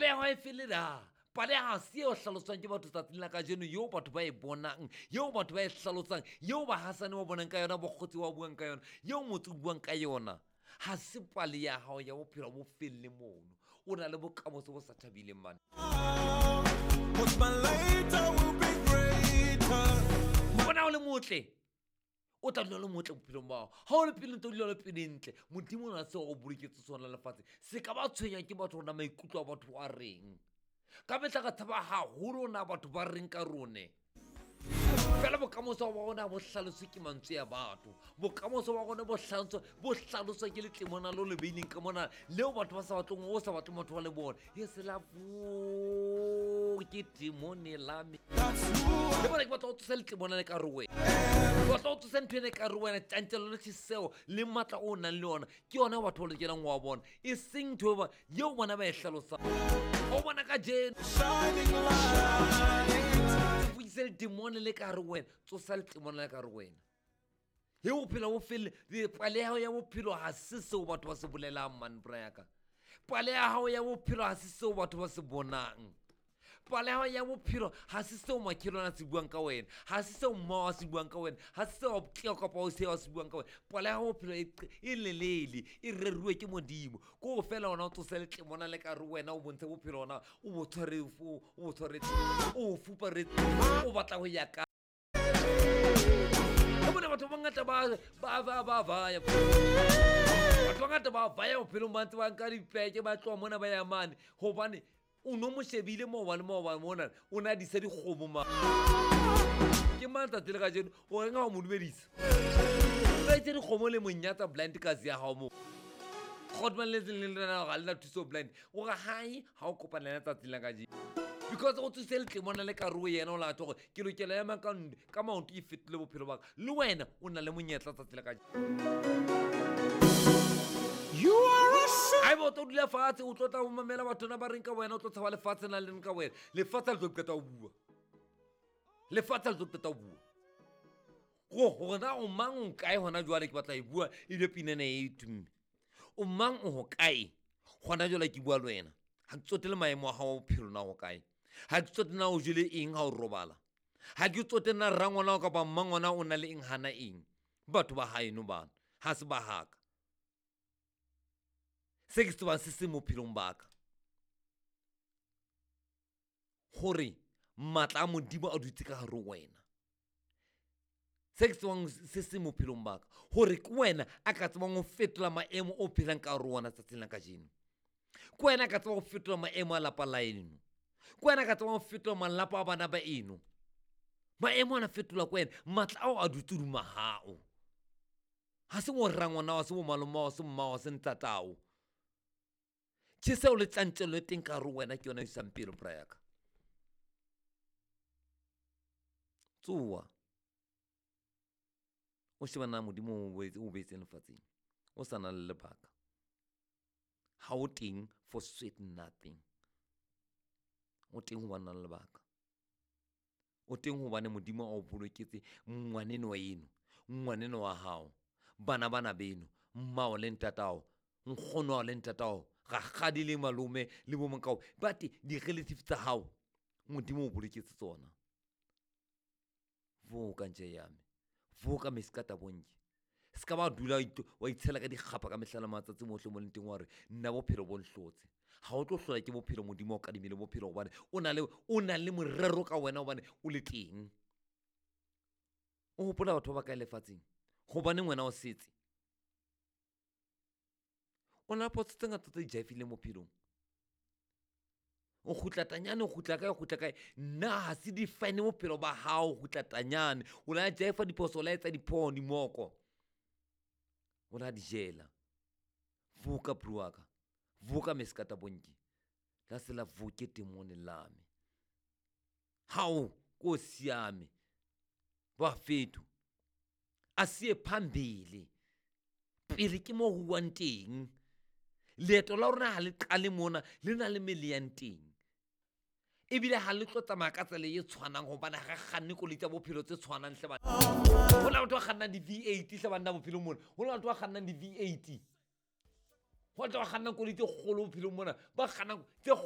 Pale ya hao e fele na. Pale ha se eo hlaloswang ke batho tsatsing la kajeno, eo batho ba e bonang, eo batho ba e hlalosang, eo bahasane ba bonang ka yona, bokgotsi ba buang ka yona, eo motse o buang ka yona. Ha se pale ya hao ya bophelo bo felle mono. O na le bokamoso bo sa thabileng mane. Bona o le motle, o tla dula le motle bophelong bao. Ha o le pele ntse o dula le pele ntle. Modimo o na seo o boloketse sona lefatshe. Se ka ba tshwenya ke batho rona maikutlo a batho a reng. Ka mehla ka tshaba haholo na batho ba reng ka rone. Fela bokamoso ba rona bo hlaloswe ke mantswe a batho. Bokamoso ba rona bo hlaloswa ke letlemona lo le beileng ka mona leo batho ba sa batleng, o sa batleng batho ba le bone. E se la vo ke demone la me. Le bona ke batla ho tsosa letlemona le ka re wena. Ke batla ho tsosa ntho ena ka re wena, tjantjello le tjheseho le matla o nang le yona. Ke yona batho ba lokelang ho wa bona. E seng ntho eo bona ba e hlalosang. O bona kajeno. Le demone le ka re wena, tsosa le demone le ka re wena. He bophelo bo felle, pale ya hao ya bophelo ha se seo batho ba se bolelang man bra ya ka. Pale ya hao ya bophelo ha se seo batho ba se bonang. Pale ya hao ya bophelo ha se seo makhelwane a se buang ka wena, ha se seo mmao a se buang ka wena, ha se seo abuti kapa o se a se buang ka wena. Pale ya hao bophelo e lelele, e reruwe ke Modimo. Ko fela ona o tsose le tlemona le ka re wena o bontshe bophelo ona o bo tshware, o bo tshwaretse, o fuparetse, o batla ho ya ka. Ke bona batho ba bangata ba vaya. Batho ba bangata ba vaya bophelong ba ntse ba nka dipeke, ba tloha mona ba ya mane. Hobane o no mo shebile maobane mona, o na disa dikgomo ma. Ke mang tsatsi le kajeno o reng ha o mo dumedisa? O itse dikgomo le monyatsa blind kazi ya hao mo. Godman le le lena ga le na thuso blind. O re hai ha o kopana le tsatsi la kajeno. Because o tsuse letlemona le ka re yena o la tlo ke lokela ya mang ka maoto e fetile bophelo ba ka. Le wena o na le monyetla tsatsi la kajeno. You are a Ai bo tlo dula fatshe o tlo tla o mamela batho na ba reng ka wena, o tlo tshaba lefatshe na le reng ka wena. Lefatshe le tlo qeta ho bua. Lefatshe le tlo qeta ho bua. Go hore na o mang o kae hona jwale ke batla e bua e le pinene e tumme. O mang o hokae hona jwale ke bua le wena. Ha ke tsotele maemo a hao a bophelo na ho kae. Ha ke tsotele na o jele eng ha o robala. Ha ke tsotele na rangwana kapa mmangwana o na le eng hana eng. Batho ba haeno bana ha se ba haka. Se ke se tsebang se se mo phelong ba ka. Hore matla a Modimo a dutse ka hare ho wena. Se ke tsebang se se mo phelong ba ka. Hore ke wena a ka tsebang ho fetola maemo o phelang ka hare ho wona tsatsing la kajeno. Ke wena a ka tsebang ho fetola maemo a lapa la eno. Ke wena a ka tsebang ho fetola malapa a bana ba eno. Maemo ana fetola ke wena, matla ao a dutse hodima hao. Ha se bo rangwana, ha se bo malome, ha se mmao, ha se ntatao. Tjheseho le tjantjello e teng ka hare ho wena ke yona e isang pele bra ya ka. Tsoha. O sheba na Modimo o beetseng lefatsheng. O sa na le lebaka. Ha o teng for sweet nothing. O teng hobane na le lebaka. O teng hobane Modimo a o boloketse ngwaneno wa eno, ngwaneno wa hao, bana bana beno, mmao le ntatao, nkgono wa le ntatao, rakgadi le malome le bo monkao, ba te di-relative tsa hao, Modimo o boloketse tsona. Voka nje ya me. Voka meskata bonke. Se ka ba dula wa itshela ka dikgapa ka mehla le matsatsi mohle mo leng teng wa re nna bophelo bo nhlotse. Ha o tlo hlola ke bophelo, Modimo o kadimile bophelo hobane o na le morero ka wena hobane o le teng. O hopola batho ba kae lefatsheng? Hobaneng wena o setse? O na le potso tse ngata tse jaifileng bophelong. O kgutla tanyane, o kgutla kae, o kgutla kae. Nna ha se define bophelo ba hao, o kgutla tanyane. O la jaifa diphoso, o la etsa diphoho, dimoko. O la di jela. Voka bro wa ka. Voka meskata bonke. La se la voke temone la me. Hao ko siame. Ba fetu. A siye phambili. Pele ke mo huwang teng. Leeto la rona ha le qale mona, le na le mele yang teng. Ebile ha le tlo tsamaya ka tsela e tshwanang hobane ha re kganne koloi tsa bophelo tse tshwanang hle bana. Ho na le batho ba kgannang di-V8 hle banna bophelong mona. Ho na le batho ba kgannang di-V8. Ho na le batho ba kgannang koloi tse kgolo bophelong mona. Ba kgannang tse